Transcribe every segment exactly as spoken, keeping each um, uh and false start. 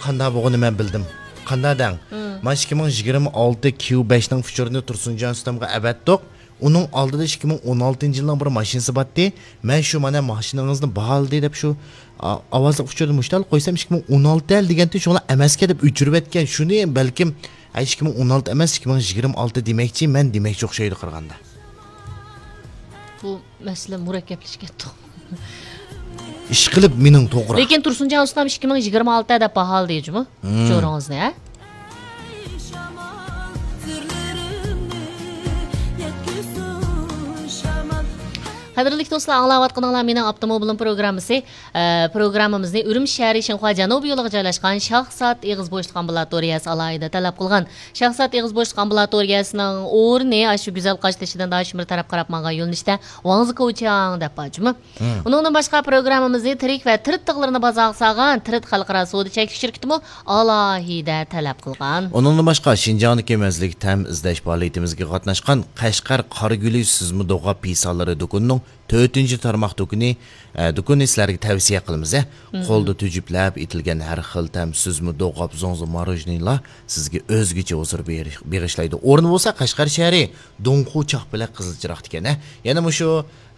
قانداق بولغىنىنى مەن بىلدىم. قانداق دەڭ؟ مم. مانا ئىككى مىڭ يىگىرمە ئالتە كيۇ بەشنىڭ فۇچۇرىنى تۇرسۇنجان ئۇستامغا ئەۋەتتۇق. ئۇنىڭ ئالدىدا ئىككى مىڭ ئون ئالتىنچى يىلنىڭ بىر ماشىنىسى بارتتى. مەن شۇ مانا ماشىنىڭىزنى باھالىدى دەپ شۇ، ئا-، ئاۋازلىق ئۇچۇردا مۇشتال قويسام، ئىككى مىڭ ئون ئالتە دېگەنتى شۇڭلا ئەمەسكەن دەپ ئۆچۈرۈۋەتكەن. شۇنى بەلكىم، ئە، ئىككى مىڭ ئون ئالتە ئەمەس، ئىككى مىڭ يىگىرمە ئالتە دېمەكچى، مەن دېمەكچى ئوخشايدۇ قارىغاندا. بۇ مەسىلە مۇرەككەپلىشىپ كەتتۇق. ئىشقىلىپ مېنىڭ توغرا. لېكىن تۇرسۇنجان ئۇستام ئىككى مىڭ يىگىرمە ئالتە دەپ باھالىدى جۇمۇ. مم. ئۇچۇرىڭىزنى، ھە؟ قەدىرلىك دوستلار، ئاڭلاۋاتقىنىڭلار مېنىڭ ئاپتوموبىلىم پروگراممىسى. ئە، پروگراممىمىزنى ئۈرۈمچى شەھىرى شىنخۇا جەنۇبىي يولىغا جايلاشقان شاھزات ئېغىز بوشلۇق ئامبۇلاتورىيەسى ئالاھىدە تەلەپ قىلغان. شاھزات ئېغىز بوشلۇق ئامبۇلاتورىيەسىنىڭ ئورنى ئاشۇ گۈزەل قاشتېشىدىن داشىمىر تەرەپ قاراپ ماڭغان يۆنىلىشتە ۋاڭزى كوچياڭ دەپ بار جۇمۇ. مم. ئۇنىڭدىن باشقا پروگراممىمىزنى تىرىك ۋە تىرىت تىغلىرىنى بازارغا سالغان تىرىت خەلقئارا سودا چەكلىك شىركىتىمۇ ئالاھىدە تەلەپ قىلغان. ئۇنىڭدىن باشقا، شىنجاڭدىكى مەززىلىك تەم ئىزدەش پائالىيىتىمىزگە قاتناشقان قەشقەر قارىگۈلى سۈزمە دوغاپ پىسالىرى دۇكىنىنىڭ تۆتىنچى تارماق دۇكىنى، ئە، دۇكىنىنى سىلەرگە تەۋسىيە قىلىمىز، ھە. مم. قولدا تۈجۈپلەپ ئېتىلگەن ھەر خىل تەم سۈزمە دوغاپ زوڭزا ماروژنىلار سىزگە ئۆزگىچە ھۇزۇر بېغىش-، بېغىشلايدۇ. ئورنى بولسا قەشقەر شەھىرى دۇڭخۇ چاقپەلەك قىزىل چىراغدا ئىكەن، ھە. يەنە مۇشۇ،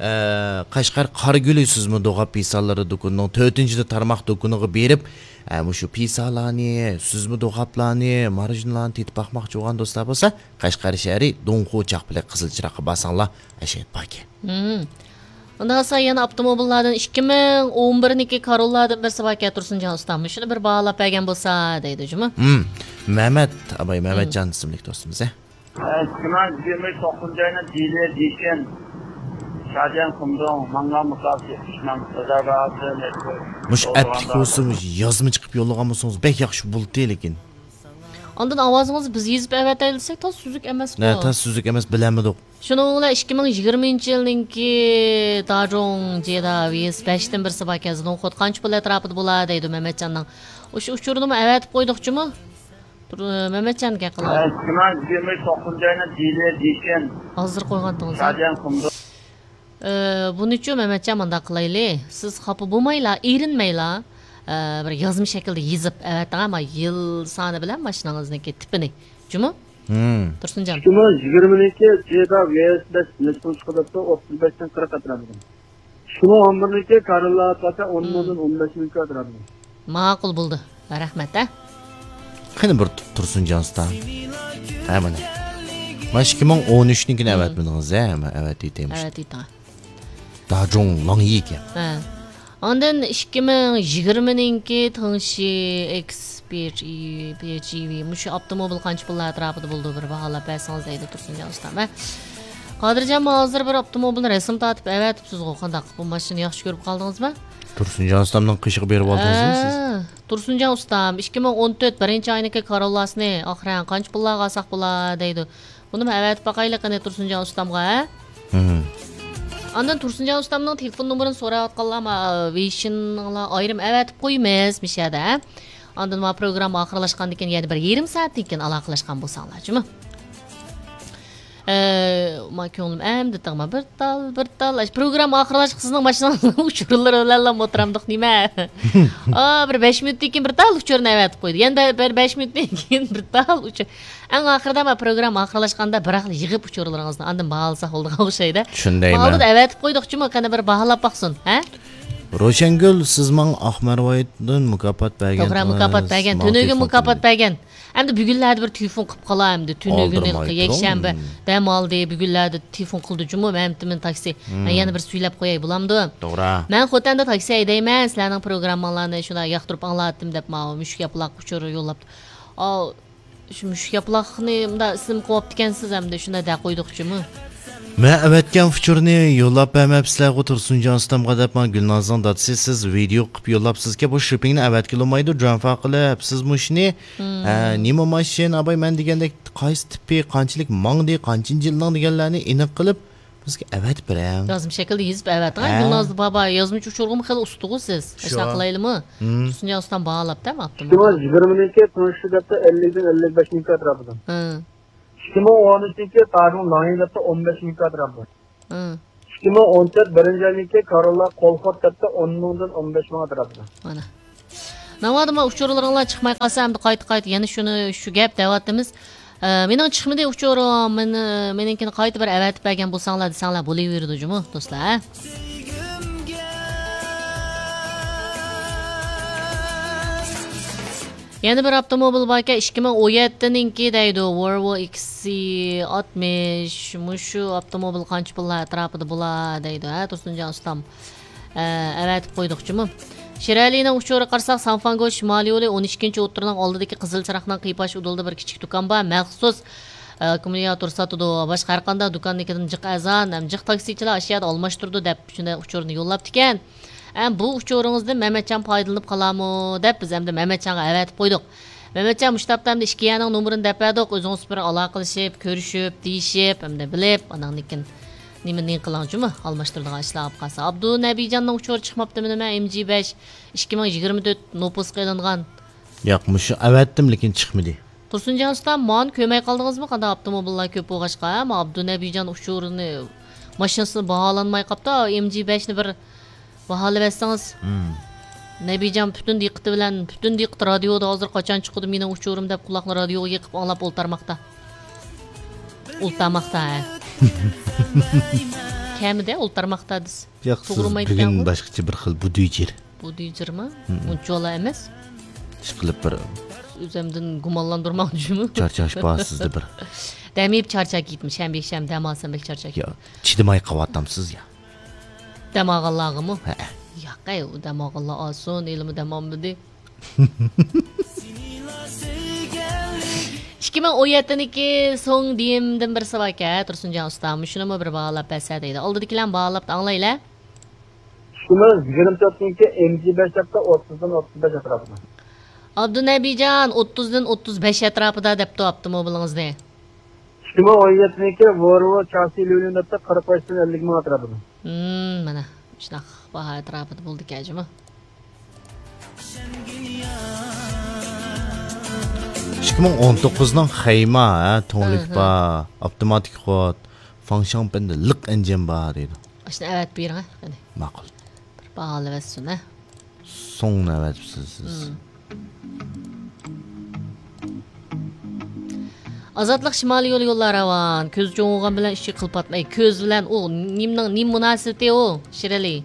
ئە، قەشقەر قارىگۈلى سۈزمە دوغاپ پىسالىرى دۇكىنىنىڭ تۆتىنچى تارماق دۇكىنىغا بېرىپ، ئە، مۇشۇ پىسالارنى، سۈزمە دوغاپلارنى، ماروژنىلارنى تېتىپ باقماقچى بولغان دوستلار بولسا، قەشقەر شەھىرى دۇڭخۇ چاقپەلەك قىزىل چىراغقا بارساڭلار، ئەشەدە باركەن. مم. ئۇنداق بولسا يەنە ئاپتوموبىللاردىن ئىككى مىڭ ئون بىرنىڭكى كاروللادىن بىرسى باركەن، تۇرسۇنجان ئۇستام. مۇشۇنى بىر باھالاپ بەرگەن بولسا دەيدۇ جۇمۇ. مم. مەمەت ئاباي، مەمەتجان ئىسىملىك دوستىمىز، ھە؟ ئىككى مىڭ يىگىرمە توققۇزىنچى يىلى دېشەن، شادىيان قۇمدۇڭ، ماڭغان مۇساپىسى ئۈچ مىڭ، رىزا بازىسى، مەجبۇر. مۇشۇ ئەپلىك بولسا، مۇشۇ يازما چىقىپ يوللىغان بولسىڭىز بەك ياخشى بولدى، لېكىن. ئاندىن ئاۋازىڭىزنى بىز يېزىپ ئەۋەتەيلى دېسەك، تاز سۈزۈك ئەمەسقۇ. نە، تاز سۈزۈك ئەمەس، بىلەلمىدۇق. شۇنىڭ بىلەن ئىككى مىڭ يىگىرمىنچى يىلنىڭكى داجوڭ جېدا ۋىيىس بەشتىن بىرسى باركەن، زىدۇڭخۇت قانچە پۇل ئەتراپىدا بولا دەيدۇ مەمەتجاننىڭ. ئۇشۇ ئۇچۇرنىمۇ ئەۋەتىپ قويدۇقچىمۇ؟ تۇر-، مەمەتجان گەپ قىلغان. ئىككى مىڭ يىگىرمە توققۇزىنچى يىلى دېشەن. ھازىر قويغانتىڭىز، ھە؟ شادىيان قۇمدۇ. ئى، بۇنىچۇ مەمەتجان مۇنداق قىلايلى، سىز خاپا بولمايلا، ئېرىنمەيلا، ئى، بىر يازما شەكىلدە يېزىپ ئەۋەتىڭ، ئەمما يىل سانى بىلەن ماشىنىڭىزنىڭكى تىپىنى. جۇمۇ؟ ھىم. تۇرسۇنجان. ئىككى مىڭ يىگىرمىنىڭكى جېدا ۋىيەس بەش نەچچە پۇل چىقىدۇ دەپتۇ، ئوتتۇز بەشتىن قىرىق ئەتراپىدا. ئىككى مىڭ ئون بىرنىڭكى كاروللا ئاتلاس ئون مىڭدىن ئون بەش مىڭ ئەتراپىدا. ماقۇل بولدى. رەھمەت، ھە؟ قېنى بىر تۇ-، تۇرسۇنجان ئۇستا. ھە، مانا. مانا ئىككى مىڭ ئون ئۈچنىڭكىنى ئەۋەتمىدىڭىز، ھە؟ مانا ئەۋەتىۋېتەي مۇشۇ. ئەۋەتىۋېتىڭ. داجوڭ لاڭيى ئىكەن. ھە. ئاندىن ئىككى مىڭ يىگىرمىنىڭكى تېڭشى ئېكس پى ئېيچ ئىي ۋى، پى ئېيچ ئىي ۋى، مۇشۇ ئاپتوموبىل قانچە پۇللار ئەتراپىدا بولىدۇ، بىر باھالاپ بەرسىڭىز دەيدۇ تۇرسۇنجان ئۇستام. ھە. قادىرجان، ھازىر بىر ئاپتوموبىلنى رەسىم تارتىپ ئەۋەتىپسىزغۇ، قانداق؟ بۇ ماشىنىنى ياخشى كۆرۈپ قالدىڭىزمۇ؟ تۇرسۇنجان ئۇستامنىڭ قېشىغا بېرىپ ئالدىڭىزمۇ سىز؟ ھە، تۇرسۇنجان ئۇستام، ئىككى مىڭ ئون تۆت بىرىنچى ئاينىڭكى كاروللاسىنى ئاخىرەن قانچە پۇللارغا ئالساق بولا دەيدۇ. بۇنىمۇ ئەۋەتىپ باقايلى قېنى تۇرسۇنجان ئۇستامغا، ھە؟ مم. ئاندىن تۇرسۇنجان ئۇستامنىڭ تېلېفون نومۇرىنى سوراۋاتقانلار، ما، ۋېيشىنىڭلار ئايرىم ئەۋەتىپ قويىمىز مۇشۇ يەردە، ھە؟ ئاندىن ما پروگرامما ئاخىرلاشقاندىن كېيىن يەنە بىر يېرىم سائەتتىن كېيىن ئالاقىلەشكەن بولساڭلار جۇمۇ. ئە، ما كۆڭلۈم ئەمدى تىڭما بىر تال، بىر تال. ئاشۇ پروگرامما ئاخىرلاشقا سىزنىڭ ماشىنىڭىزنىڭ ئۇچۇرلىرى بىلەنلا ئولتۇرامدۇق نېمە؟ ئا، بىر بەش مىنۇتتىن كېيىن بىر تال ئۇچۇرنى ئەۋەتىپ قويدى. يەنە بە-، بىر بەش مىنۇتتىن كېيىن بىر تال ئۇچۇر. ئەڭ ئاخىرىدا ما پروگرامما ئاخىرلاشقاندا بىراقلا يىغىپ ئۇچۇرلىرىڭىزنى ئاندىن باھالىساق بولىدىغان ئوخشايدۇ. شۇندايمۇ؟ ماۋۇدا ئەۋەتىپ قويدۇقچۇمۇ، قېنى بىر باھالاپ باقسۇن، ھە؟ روشەنگۈل، سىز ماڭا ئاق مەرۋايىتتىن مۇكاپات بەرگەن. توغرا، مۇكاپات بەرگەن. تۈنۈگۈن مۇكاپات بەرگەن. ئەمدى بۈگۈنلەردە بىر تېلېفون قىلىپ قالا ئەمدى. تۈنۈگۈن يەكشەنبە دەم ئالدى، بۈگۈنلەردە تېلېفون قىلدى جۇمۇ، مەمتىمىن تاكسى. مەن يەنە بىر سۈيلەپ قوياي، بولامدۇ؟ توغرا. مەن خوتەندە تاكسى ھەيدەيمەن، سىلەرنىڭ پروگرامماڭلارنى شۇنداق ياقتۇرۇپ ئاڭلاتتىم دەپ ماۋۇ مۈشۈك ياپىلاق ئۇچۇر يوللاپتۇ. ئاۋۇ شۇ مۈشۈك ياپىلاقنى مۇنداق ئىسىم قويۇپتىكەنسىز ئەمدى، شۇنداق دەپ قويدۇق جۇمۇ. مەن ئەۋەتكەن ئۇچۇرنى يوللاپ بەرمەپسىلەرغۇ تۇرسۇنجان ئۇستامغا دەپ، ماڭا گۈلنازنىڭ دادىسى سىز ۋىدېئو قىلىپ يوللاپسىزكەن، بۇ شىپپىڭنى ئەۋەتكىلى بولمايدۇ، جۇەنفا قىلىپ، سىز مۇشۇنى، ھە، نېمە ماشىنا، ئاباي، مەن دېگەندەك قايسى تىپى، قانچىلىك ماڭدى، قانچىنچى يىلنىڭ دېگەنلەرنى ئېنىق قىلىپ، بىزگە ئەۋەتىپ بېرىڭ. يازما شەكىلدە يېزىپ ئەۋەتىڭ، ھە. گۈلنازدا بابا يازمىچە ئۇچۇرغىمۇ خېلى ئۇستىغۇ سىز. شۇ. ئاشۇنداق قىلايلىمۇ؟ تۇرسۇنجان ئۇستام باھالاپ دەم ئاپتۇ. ئىككى مىڭ يىگىرمىنىڭكى تونۇشتۇر دەپتۇ، ئەللىكتىن ئەللىك بەشنىڭكى ئەتراپىدا. ھە. ئىككى مىڭ ئون ئۈچىنچى تاجىڭ لاڭيى دەپتۇ، ئون بەش مىڭ ئەتراپىدا. ھە. ئىككى مىڭ ئون تۆت بىرىنچى ئاينىڭكى كاروللا كولخود دەپتۇ، ئون مىڭدىن ئون بەش مىڭ ئەتراپىدا. مانا. ناۋادا ما ئۇچۇرلىرىڭلار چىقماي قالسا، ئەمدى قايتا-قايتا يەنە شۇنى، شۇ گەپ دەۋاتىمىز. ئە، مېنىڭ چىقمىدى ئۇچۇرۇم، مېنى، مېنىڭكىنى قايتا بىر ئەۋەتىپ بەرگەن بولساڭلار دېسەڭلار بولۇۋېرىدۇ جۇمۇ، دوستلار، ھە؟ يەنە بىر ئاپتوموبىل باركەن، ئىككى مىڭ ئون يەتتىنىڭكى دەيدۇ، Volvo XC ئاتمىش. مۇشۇ ئاپتوموبىل قانچە پۇللار ئەتراپىدا بولا دەيدۇ، ھە، تۇرسۇنجان ئۇستام؟ ئە، ئەۋەتىپ قويدۇق جۇمۇ. شىرئەلىنىڭ ئۇچۇرىغا قارىساق، سانفانگو شىمالىي يولى ئون ئىككىنچى ئوتتۇرىنىڭ ئالدىدىكى قىزىل چىراغنىڭ قىيپاش ئۇدۇلىدا بىر كىچىك دۇكان بار، مەخسۇس، ئە، ئاككۇمۇلياتور ساتىدۇ. باشقا ھەر قانداق دۇكاننىڭكىدىن جىق ئەرزان ھەم جىق تاكسىچىلار ئاشۇ يەردە ئالماشتۇرىدۇ دەپ شۇنداق ئۇچۇرنى يوللاپتىكەن. ئە، بۇ ئۇچۇرىڭىزدىن مەمەتجان پايدىلىنىپ قالامۇ دەپ بىز ئەمدى مەمەتجانغا ئەۋەتىپ قويدۇق. مەمەتجان، مۇشۇ تاپتا ئەمدى ئىككى يەرنىڭ نومۇرىنى دەپ بەردۇق، ئۆزىڭىز بىر ئالاقىلىشىپ، كۆرۈشۈپ، دېيىشىپ، ئەمدى بىلىپ، ئاناندىن كېيىن نېمە، نېمە قىلاڭچۇمۇ، ئالماشتۇرىدىغان ئىشلار بولۇپ قالسا. ئابدۇنەبىجاننىڭ ئۇچۇرى چىقماپتىمۇ نېمە؟ ئېم جى بەش ئىككى مىڭ يىگىرمە تۆت نوپۇسقا ئېلىنغان. ياق، مۇشۇ ئەۋەتتىم، لېكىن چىقمىدى. تۇرسۇنجان ئۇستا، مانى كۆرمەي قالدىڭىزمۇ؟ قانداق ئاپتوموبىللار كۆپ بولغاچقا، ھە؟ ما ئابدۇنەبىجان ئۇچۇرىنى، ماشىنىسىنى باھالانماي قاپتۇ. ئېم جى بەشنى بىر باھالىۋەتسىڭىز. مم. نەبىجان پۈتۈن دىققىتى بىلەن، پۈتۈن دىققىتى رادىيودا، ھازىر قاچان چىقىدۇ مېنىڭ ئۇچۇرۇم دەپ قۇلاقنى رادىيوغا يېقىپ ئاڭلاپ ئولتۇرماقتا. ئولتۇرماقتا، ھە. كەمىدە ئولتۇرماقتا دېسە. ياق، سىز توغرىمايدىكەنغۇ؟ بۈگۈن باشقىچە بىر خىل بۇدۇيجىر. بۇدۇيجىرمۇ؟ مم. ئۇنچىۋالا ئەمەس. ئىشقىلىپ بىر ئۆزۈمدىن گۇمانلاندۇرماڭچىمۇ؟ چارچاش بار سىزدە بىر. دەم يەپ چارچاپ كېتىمەن. شەنبە، يەكشەنبە دەم ئالسام بەك چارچاپ يا، كېتىمەن. چىدىماي قاۋاتامسىز يا؟ دەم ئالغانلارغىمۇ؟ ھەئە. ياق، ئەي، ئۇ دەم ئالغانلار ئالسۇن، ھېلىمۇ دەم ئالمىدى. ئىككى مىڭ ئون يەتتىنىڭكى سوڭ دېيىمدىن بىرسى باركەن، تۇرسۇنجان ئۇستام. مۇشۇنىمۇ بىر باھالاپ بەرسە دەيدۇ. ئالدىدىكىلەرنى باھالاپ ئاڭلايلى. ئىككى مىڭ يىگىرمە تۆتنىڭكى ئېم جى بەش ھەپتە ئوتتۇزدىن ئوتتۇز بەش ئەتراپىدا. ئابدۇنەبىجان، ئوتتۇزدىن ئوتتۇز بەش ئەتراپىدا دەپتۇ ئاپتوموبىلىڭىزنى. ئىككى مىڭ ئون يەتتىنىڭكى ۋولۋو چاسسى ليۇليۇن دەپتۇ، قىرىق بەشتىن ئەللىك مىڭ ئەتراپىدا. ھىم، مانا شۇنداق باھا ئەتراپىدا بولدىكەن جۇمۇ. ئىككى مىڭ ئون توققۇزنىڭ خەيما، ھە، تۇڭلۇك ھە، ھە. بار، ئاپتوماتىك خود، فاڭشاڭپەندە لىق ئەنجىن بار دەيدۇ. ئاشۇنى ئەۋەتىپ بېرىڭ، ھە، قېنى. ماقۇل. بىر باھالىۋەتسۇن، ھە. سوڭنى ئەۋەتىپسىز سىز. ھىم. ئازادلىق شىمالىي يولى يوللار راۋان. كۆز چوڭ بولغان بىلەن ئىشىك قىلىپ ئاتماي. كۆز بىلەن ئۇ نېمىنىڭ، نېمە مۇناسىۋىتى ئۇ، شىرئەلى؟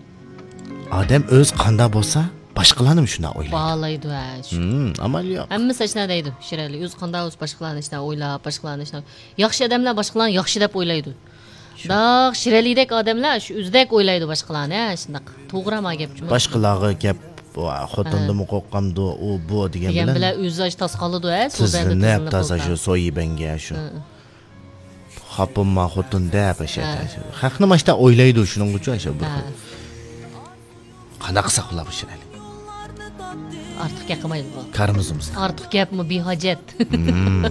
ئادەم ئۆزى قانداق بولسا، باشقىلارنىمۇ شۇنداق ئويلايدۇ. باھالايدۇ، ھە، شۇ. ھىم، ئامال يوق. ھەممىسى ئاشۇنداق دەيدۇ، شىرئەلى. ئۆزى قانداق بولسا، باشقىلارنى ئاشۇنداق ئويلاپ، باشقىلارنى ئاشۇنداق. ياخشى ئادەملەر باشقىلارنى ياخشى دەپ ئويلايدۇ. شۇ. داق شىرئەلىدەك ئادەملەر شۇ ئۆزىدەك ئويلايدۇ باشقىلارنى، ھە، شۇنداق. توغرا ما گەپ جۇمۇ. باشقىلارغا گەپ، ۋا، خوتۇندىنمۇ ھە. قورقامدۇ، ئۇ، بۇ دېگەن دېگەن بىلەن بىلەن ئۆزى ئاشۇ تاسقالىدۇ، ھە، سۇ بەندە تىزلىنىپ، تىزلىنىپ تازا ئولتۇرا. شۇ سويى بەنگە شۇ. ھە. خاپىمما خوتۇن دەپ ئاشۇ ھە. خەقنى ماشتا ئويلايدۇ، شۇنىڭغىچۇ ئاشۇ بىر ھە. خىل. قانداق قىلساق بولار بۇ شىرئەلى؟ ئارتۇق گەپ قىلمايلى بۇ. كارىمىز بولمىسا. ئارتۇق گەپمۇ بىھاجەت. مم.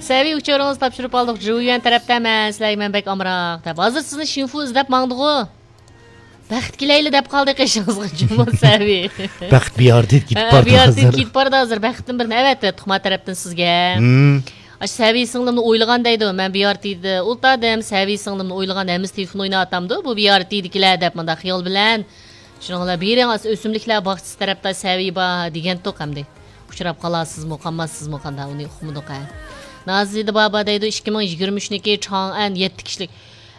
سەۋىي ئۇچۇرىڭىزنى تاپشۇرۇپ ئالدۇق. جۇيۈەن تەرەپتە مەن سىلەرگە مەن بەك ئامراق دەپ. ھازىر سىزنى شىنفۇ ئىزدەپ ماڭدىغۇ. بەخت كېلەيلى دەپ قالدى قېشىڭىزغا جۇمۇ سەۋىي. بەخت بىئارتىدە كېتىپ ھە، بارىدۇ بىئارتىدە ھازىر. كېتىپ بارىدۇ ھازىر. بەختتىن بىرنى ئەۋەتتى تۇغما تەرەپتىن سىزگە. مم. ئاشۇ سەۋىي سىڭلىمنى ئويلىغان دەيدۇ. مەن بىئارتىدە ئولتۇردۇم، سەۋىي سىڭلىمنى ئويلىغان، ھەممىسى تېلېفون ئويناۋاتامدۇ بۇ بىئارتىدىكىلەر دەپ مۇنداق خىيال بىلەن. شۇنىڭ بىلەن بېرىڭ، ئۆسۈملۈكلەر باغچىسى تەرەپتە سەۋىي بار دېگەنتۇق ئەمدى. ئۇچراپ قالارسىزمۇ، قالماسسىزمۇ، قانداق ئۇنى ئۇقمىدۇق ھە. نازىدە بابا دەيدۇ، ئىككى مىڭ يىگىرمە ئۈچنىڭكى چاڭئەن يەتتە كىشىلىك.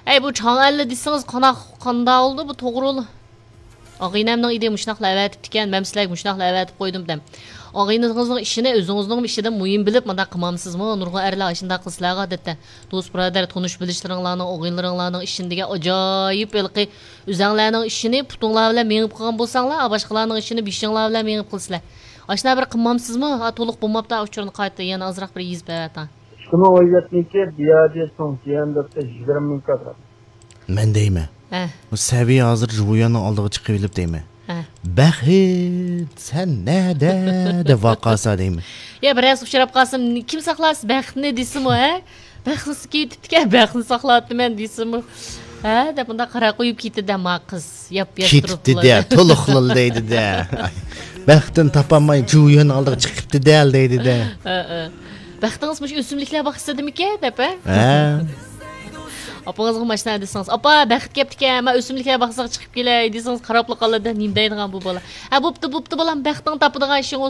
ئەي، بۇ چاڭئەنلا دېسىڭىز قانداق، قانداق بولدى بۇ توغرۇلۇق؟ ئاغىنەمنىڭ ئىدى مۇشۇنداقلا ئەۋەتىپتىكەن، مەن سىلەرگە مۇشۇنداقلا ئەۋەتىپ قويدۇم دەم. ئاغىنىڭىزنىڭ ئىشىنى ئۆزىڭىزنىڭمۇ ئىشىدىن مۇھىم بىلىپ مۇنداق قىلمامسىزمۇ؟ نۇرغۇن ئەرلەر ئاشۇنداق قىلسىلەرغۇ ئادەتتە. دوست بۇرادەر، تونۇش بىلىشلىرىڭلارنىڭ، ئاغىنىلىرىڭلارنىڭ ئىشىنى دېگەن ئاجايىپ ھېلىقى ئۆزەڭلارنىڭ ئىشىنى پۇتۇڭلار بىلەن مېڭىپ قىلغان بولساڭلار، باشقىلارنىڭ ئىشىنى بېشىڭلار بىلەن مېڭىپ قىلىسىلەر. ئاشۇنداق بىر قىلمامسىزمۇ؟ ھا، تولۇق بولماپتۇ، ئۇچۇرنى قايتا يەنە ئازراق بىر يېزىپ ئەۋەتىڭ. ئىككى مىڭ ئون يەتتىنچى بىيادى سوڭ جيەن دەپتە يىگىرمە مىڭ كادىر. مەن دەيمەن. ھە. بۇ سەۋىي ھازىر ژۇۋيۈەننىڭ ئالدىغا چىقىۋېلىپ دەيمەن. ھە. بەخت، سەن نەدە؟ دەپ ۋارقىرىسا دەيمەن. يا، بىرەرسى ئۇچراپ قالسىمۇ، كىم ساقلارسىز بەختنى دېسىمۇ، ھە؟ بەختنى كېتىپتىكەن، بەختنى ساقلاۋاتىمەن دېسىمۇ، ھە؟ دەپ مۇنداق قارا قويۇپ كېتىدۇ ما قىز. ياپياش تۇرۇپلا. كېتىپتۇ-دە، تولۇقلىلا دەيدۇ-دە. بەختىنى تاپالماي ژۇۋيۈەن ئالدىغا چىقىپتۇ-دە دەيدۇ-دە. ھە، ھە. بەختىڭىز مۇشۇ ئۆسۈملۈكلەر باغچىسىدىمىكەن دەپ، ھە؟ ھە. ئاپىڭىزغا ماشىنا دېسىڭىز، ئاپا، بەخت كەپتىكەن، مەن ئۆسۈملۈكلەر باغچىسىغا چىقىپ كېلەي دېسىڭىز، قاراپلا قالىدۇ، نېمە دەيدىغان بۇ بالا. ھە، بوپتۇ، بوپتۇ، بالام، بەختىڭ تاپىدىغان ئىشىڭ بولسۇن.